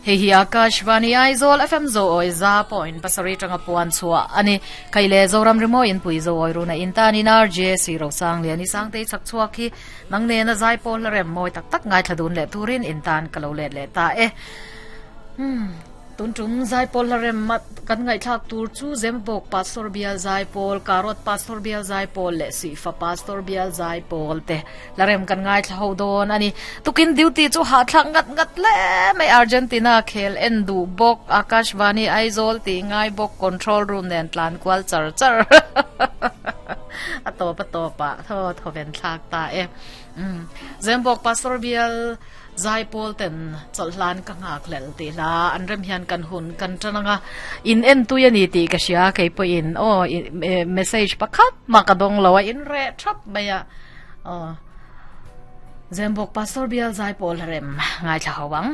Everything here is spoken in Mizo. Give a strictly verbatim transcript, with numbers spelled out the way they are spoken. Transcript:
Hei hi Akashvani Aizawl F M zo oi za point pasarih tanga puan chhuah ani. Khaile Zoram Rimo in pui zo oi runa in tan in R J C Rosang lian i sangtei chak chhuak hi nang ne na zai pawl la rem moi tak tak ngai thladun le turin in tan kalo let le ta e. Hmm tun tum zai pawl la rem mat kan ngai thlak tur chu Zembok Pastor Bial zai pawl Karot Pastor Bial zai pawl le si fa Pastor Bial zai pawl te la rem kan ngai thla ho don ani. Tukin duty chu ha thlak ngat ngat le mai Argentina khel en du bok Akashvani Aizawl ti ngai bok control room nen tlan kwal char char ato pa to pa tho tho ven thlak ta e. Um Zembok Pastor Bial zai pawl ten cholhlan ka ngak lel ti la an rem hian kan hun kan tanga in en tu yani ti ka sia kei po in o message pakhat ma ka dong lo in re thap maya o Zembok Pastor Bial zai pawl rem ngai thla hawang.